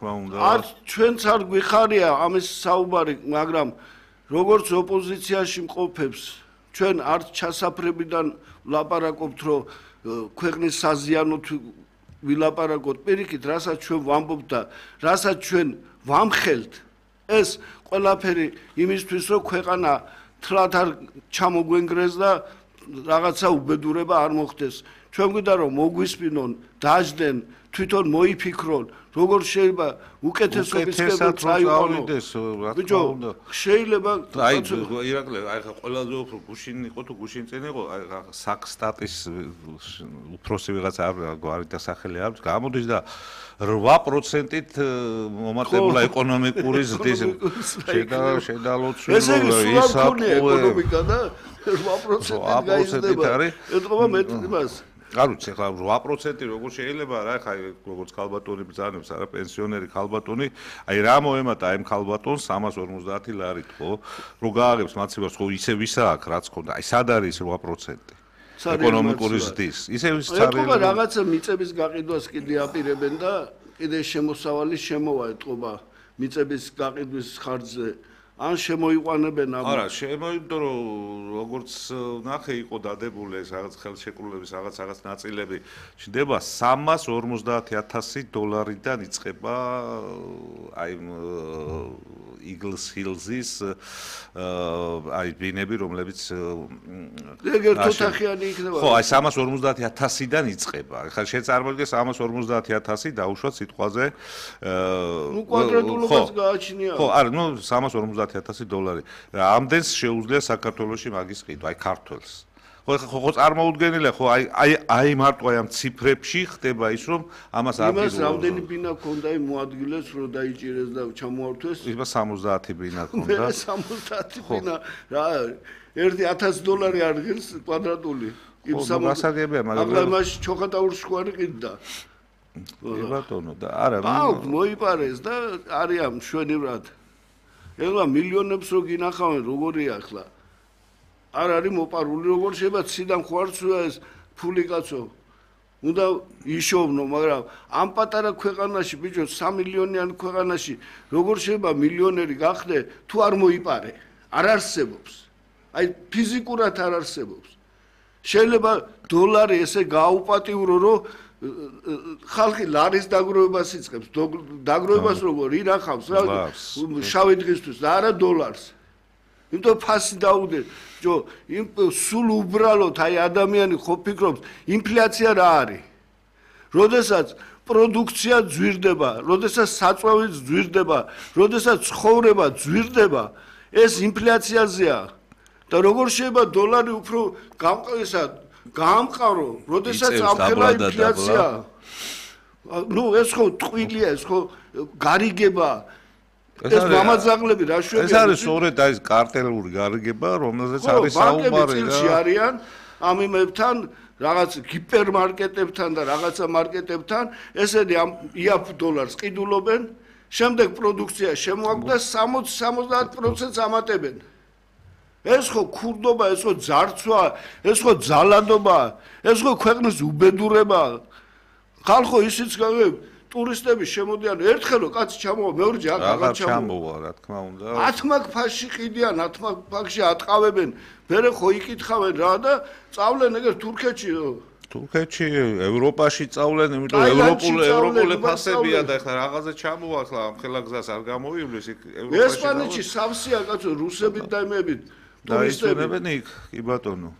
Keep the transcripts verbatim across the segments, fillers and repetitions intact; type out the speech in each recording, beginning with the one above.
თქმა უნდა. არც ჩვენც არ გვიხარია ამის საუბარი, მაგრამ როგორც ოპოზიციაში მყოფებს, ჩვენ არც ჩასაფრებიდან ვლაპარაკობთ, რომ ქვეყნის საზიანოთ ვილაპარაკოთ, პირიქით, რასაც ჩვენ ვამბობთ და რასაც ჩვენ ვამხელთ, ეს ყველაფერი იმისთვის, რომ ქვეყანა თლად არ ჩამოგვენგრეს და რაღაცა უბედურება არ მოხდეს. ჩვენ გვინდა რომ მოგვისპინონ, დაждენ, თვითონ მოიფიქრონ, როგორ შეიძლება უკეთესობისკენ წაიყვანონ. ბიჭო, შეიძლება აი ირაკლი, აი ხა ყველაზე უფრო გუშინ იყო თუ გუშინ წინ იყო, აი საკსტატის უფროსი ვიღაცა არ დასახელი აქვს, გამოდის და რვა პროცენტით მომატებულა ეკონომიკური ზრდის შედალოცვილი ეკონომიკა და რვა პროცენტით გაიზრდება. ეთქობა მეტ იმას არ ვიცი ხა რვა პროცენტი როგორ შეიძლება რა ხა როგორც ქალბატონი ბრძანებს არა პენსიონერი ქალბატონი აი რა მოემატა ამ ქალბატონს სამას ორმოცდაათი ლარით ხო რო გააღებს მაცივარს ხო ისე ვისა აქვს რაც ხონდა აი სად არის რვა პროცენტი ეკონომიკური ზრდის ისე ვის წარიელი ეთქობა რაღაცა მიწების გაყიდვას კიდე აპირებენ და კიდე შემოსავალი შემოვა ეთქობა მიწების გაყიდვის ხარჯზე ან შემოიყვანებენ ამ არა შემოიდო რომ როგორც ნახე იყო დადებული ეს რაღაც ხელშეკრულების რაღაც რაღაც ნაწილები ჩნდება სამას ორმოცდაათი ათასი დოლარიდან იწყება აი Eagles Hills-ის აი ბინები რომლებიც ეგერ თოთახიანი იქნება ხო აი სამას ორმოცდაათი ათასიდან იწყება ხა შეწარმოდგე სამას ორმოცდაათი ათასი დაუშვათ სიტყვაზე ნუ კვადრატულობას გააჩნია ხო არა ნუ სამას ორმოცდაათი ათასი დოლარი ამდენს შეუძლია საქართველოში მაგის ყიდვა აი ქართველს ხო ხო წარმოუდგენელია ხო აი აი აი მარტო აი ამ ციფრებში ხდება ის რომ ამას არ იმას რამდენი ბინა ქონდა იმ მოადგილეს რომ დაიჭირეს და ჩამოართვეს იმას სამოცდაათი ბინა ქონდა სამოცდაათი ბინა რა ერთი ათასი დოლარი არგილს კვადრატული იმ სამოცდაათია მაგრამ ახლა მას ჩოხატა ურშხვარი ყიდდა კი ბატონო და არა აუ მოიპარეს და არიან მშვენივრად ეხლა მილიონებს რო გინახავენ როგორია ახლა არ არის მოპარული როგორ შეიძლება ციდან ხوارცია ეს ფული კაცო უნდა იშოვნო მაგრამ ამ პატარა ქვეყანაში ბიჭო სამი მილიონიან ქვეყანაში როგორ შეიძლება მილიონერი გახდე თუ არ მოიპარე არ არსებობს აი ფიზიკურად არ არსებობს შეიძლება დოლარი ესე გააუპატიურო რომ ხალხი ლარის დაგროვებას იწყებს დაგროვებას როგორ ირახავს რა შავი დღისთვის და არა დოლარს იმიტომ ფასი დაუდე ჯო იმ სულ უბრალოდ აი ადამიანი ხო ფიქრობს ინფლაცია რა არის როდესაც პროდუქცია ძვირდება როდესაც საწვავი ძვირდება როდესაც ცხოვრება ძვირდება ეს ინფლაციაზეა და როგორ შეიძლება დოლარი უფრო გამყესა გაამყარო როდესაც ამხელა ინფლაცია ნუ ეს ხო ტყვილია ეს ხო გარიგება ეს მამაძაღლები რა შვებია ეს არის სწორედ აი ეს კარტელური გარიგება რომელზეც არის საუბარი რა არიან ამ იმებთან რაღაც ჰიპერმარკეტებთან და რაღაცა მარკეტებთან ესენი ამ იაფ დოლარს ყიდულობენ შემდეგ პროდუქცია შემოაქვს და სამოცი სამოცდაათ პროცენტს ამატებენ ეს ხო ქურდობა ეს ხო ძარცვა ეს ხო ძალადობა ეს ხო ქვეყნის უბედურება ხალხო ისიც გავებ ტურისტები შემოდიან ერთხელ რომ კაცი ჩამოვა მეორჯი აღარ ჩამოვა რა თქმა უნდა ათმაგ ფასში ყიდიან ათმაგ ფასში ატყავებენ მერე ხო იკითხავენ რა და წავლენ ეგერ თურქეთში თურქეთში ევროპაში წავლენ იმიტომ ევროპული ევროპული ფასებია და ეხლა რაღაცა ჩამოვა ახლა ამ ხელაგზას არ გამოვივლის იქ ევროპაში ესპანეთში სავსეა კაცო რუსებით და იმებით ტურისტებენ იქ კი ბატონო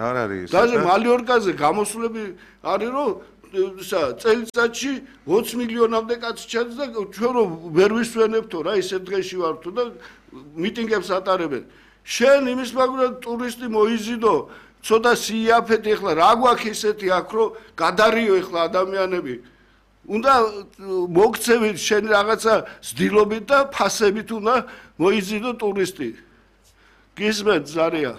არ არის და მალიორკაზე გამოსვლები არის რომ წელიწადში ოცი მილიონამდე კაცი ჩადის და ჩვენ რომ ვერ ვისვენებთო რა ისეთ დღეში ვართო და მიტინგებს ატარებენ შენ იმის მაგურად ტურისტი მოიზიდო ცოტა სიაფეთი ეხლა რა გვაქვს ისეთი აქ რომ გადარიო ეხლა ადამიანები უნდა მოგცევით შენ რაღაცა ზდილობით და ფასებით უნდა მოიზიდო ტურისტი გისმენთ ზარია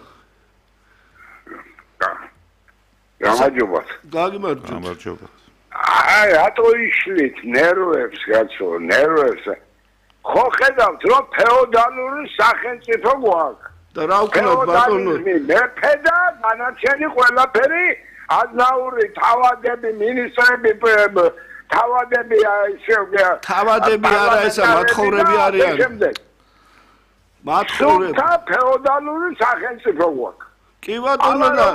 გამარჯობათ. გამარჯობათ. გამარჯობათ. აი, რატო იშლით ნერვებს, კაცო, ნერვებს. ხო ხედავთ, რომ ფეოდალური სახელმწიფო გვაქვს. და რა ვქნათ ბატონო? მეფე და განაჩენი ყველაფერი, აზნაური თავადები, მინისტრები, თავადები ისე თავადები არა ესა მათხოვრები არიან მათხოვრები სულთა ფეოდალური სახელმწიფო გვაქვს კი ბატონო და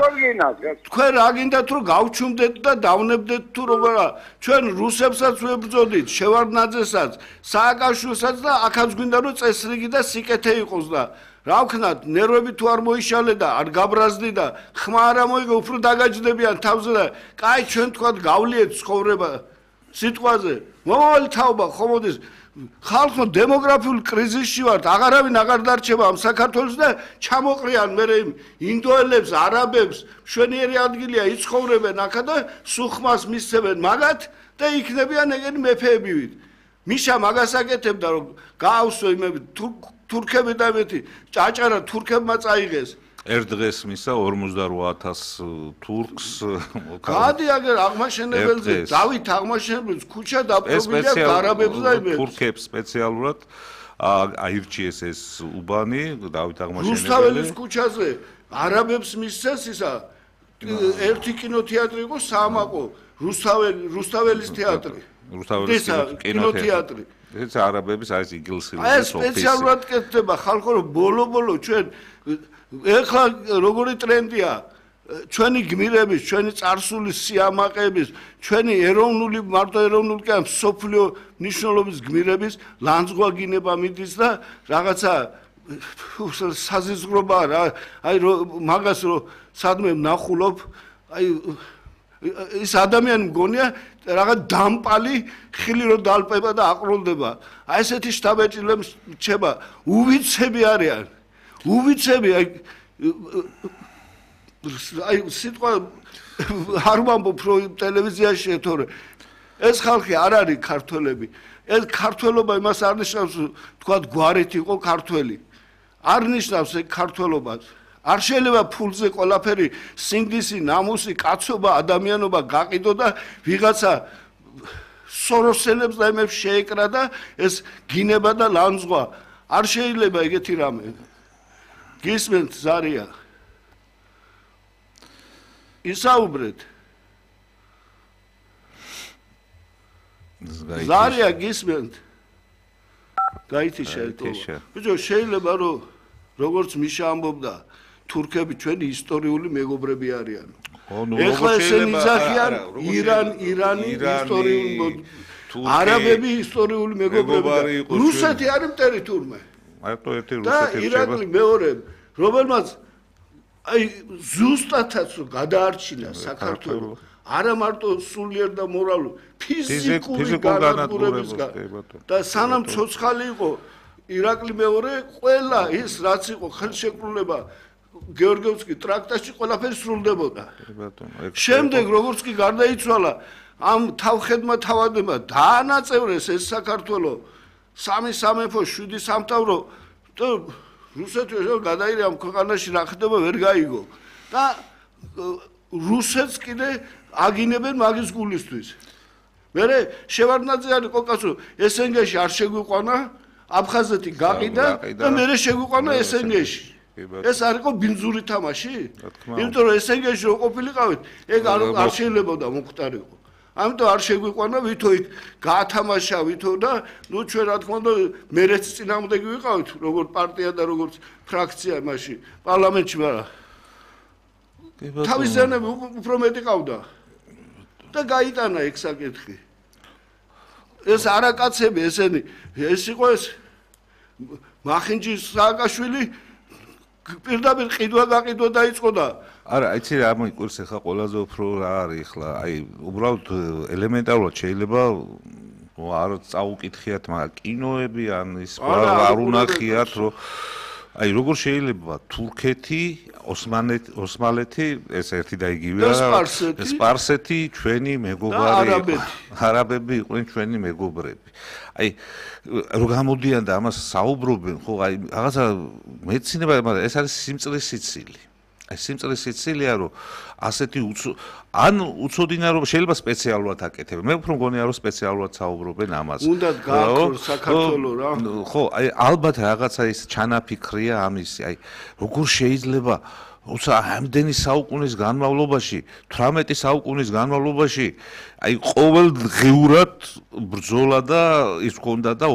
თქვენ რა გინდათ რომ გავჩუმდეთ და დავნებდეთ თუ როგორა ჩვენ რუსებსაც ვებრძოდით შევარდნაძესაც სააკაშვილსაც და აქაც გვინდა რომ წესრიგი და სიკეთე იყოს და რა ვქნათ ნერვები თუ არ მოიშალე და არ გაბრაზდი და ხმა არ მოიგო უფრო დაგაჯდებიან თავზე და კაი ჩვენ თქვათ გავლიეთ ცხოვრება სიტყვაზე მომავალი თაობა ხომოდის ხალხო დემოგრაფიულ კრიზისში ვართ აღარავინ აღარ დარჩება ამ საქართველოს და ჩამოყრიან მე ინდოელებს არაბებს მშვენიერი ადგილია იცხოვრებენ აქა და სუხმას მისცემენ მაგათ და იქნებიან ეგენი მეფეებივით მიშა მაგას აკეთებდა რომ გაავსო იმები თურქები და მეთი ჭაჭარა თურქებმა წაიღეს ერთ დღეს მისა ორმოცდაოთხ ათას თურქს გადი აგერ აღმაშენებელზე დავით აღმაშენებელს ქუჩა დაპყრობილია არაბებს და იმებს თურქებს სპეციალურად აირჩიეს ეს უბანი დავით აღმაშენებელი რუსთაველის ქუჩაზე არაბებს მისცეს ისა ერთი კინოთეატრი იყო საამაყო რუსთაველი რუსთაველის თეატრი რუსთაველის კინოთეატრი ეს არაბების არის იგილსილი ეს სპეციალურად კეთდება ხალხო რომ ბოლო-ბოლო ჩვენ ეხლა როგორი ტრენდია ჩვენი გმირების, ჩვენი წარსული სიამაყეების, ჩვენი ეროვნული მარტო ეროვნული კი არა სოფლიო მნიშვნელობის გმირების ლანძღვა გინება მიდის და რაღაცა საზიზღრობა რა აი მაგას რომ სადმე ვნახულობ აი ის ადამიანი მგონია რაღაც დამპალი ხილი რო დალპება და აყროლდება აი ესეთი შტაბეჭილებს რჩება უვიცები არიან უვიცები აი აი სიტყვა არ ვამბობ რომ ტელევიზიაში ეთორე ეს ხალხი არ არის ქართველები ეს ქართველობა იმას არ ნიშნავს თქვა გვარით იყო ქართველი არ ნიშნავს ეგ ქართველობას არ შეიძლება ფულზე ყველაფერი სინდისი ნამუსი კაცობა ადამიანობა გაყიდო და ვიღაცა სოროსელებს და იმებს შეეკრა და ეს გინება და ლანძღვა არ შეიძლება ეგეთი რამე გისმენთ ზარია ისაუბრეთ ზარია გისმენთ გაითი შეეტოვა ბიჭო შეიძლება რომ როგორც მიშა ამბობდა თურქები ჩვენი ისტორიული მეგობრები არიან ეხლა ესენი იძახიან ირან ირანი ისტორიული არაბები ისტორიული მეგობრები რუსეთი არის მტერი თურმე მარტო ერთი რუსეთი და ირაკლი მეორე რომელმაც აი ზუსტადაც რომ გადაარჩინა საქართველოს არა მარტო სულიერ და მორალურ ფიზიკური განადგურებისგან და სანამ ცოცხალი იყო ირაკლი მეორე ყველა ის რაც იყო ხელშეკრულება გეორგიევსკი ტრაქტატში ყველაფერი სრულდებოდა შემდეგ როგორც კი გარდაიცვალა ამ თავხედმა თავადებმა დაანაწევრეს ეს საქართველოს სამი სამეფო შვიდი სამთავრო და რუსეთი გადაირე ამ ქვეყანაში რა ხდება ვერ გაიგო და რუსეთს კიდე აგინებენ მაგის გულისთვის მერე შევარდნაძე არის ყოყასო ესენგეში არ შეგვიყვანა აფხაზეთი გაყიდა და მერე შეგვიყვანა ესენგეში ეს არ იყო ბინძური თამაში იმიტომ რომ ესენგეში რო ყოფილიყავით ეგ არ შეიძლებოდა მომხდარიყო ამიტომ არ შეგვიყვანა ვითო იქ გაათამაშა ვითო და ნუ ჩვენ რა თქმა უნდა მერეც წინააღმდეგი ვიყავით როგორ პარტია და როგორც ფრაქცია მაშინ პარლამენტში მაგრამ თავის ზენები უფრო მეტი ყავდა და გაიტანა ეგ საკითხი ეს არაკაცები ესენი ეს იყო ეს მახინჯი სააკაშვილი პირდაპირ ყიდვა გაყიდვა დაიწყო და არა იცი რა მოიკვირს ახლა ყველაზე უფრო რა არის ახლა აი უბრალოდ ელემენტარულად შეიძლება არ წაუკითხიათ მაგრამ კინოები ან ის არ უნახიათ რომ აი როგორ შეიძლება თურქეთი ოსმანეთი ოსმალეთი ეს ერთი და იგივეა სპარსეთი ჩვენი მეგობრები არაბები იყვნენ ჩვენი მეგობრები აი რო გამოდიან და ამას საუბრობენ ხო აი რაღაცა მეცინება მაგრამ ეს არის სიმწრის სიცილი აი სიმწრის სიცილია რომ ასეთი ან უცოდინა რომ შეიძლება სპეციალურად აკეთებენ მე უფრო მგონია რომ სპეციალურად საუბრობენ ამას უნდა გააქროს საქართველოს რა ხო აი ალბათ რაღაცა ის ჩანაფიქრია ამისი აი როგორ შეიძლება უცა ამდენი საუკუნის განმავლობაში, თვრამეტი საუკუნის განმავლობაში, აი ყოველ დღეურად ბრძოლა და ის ქონდა და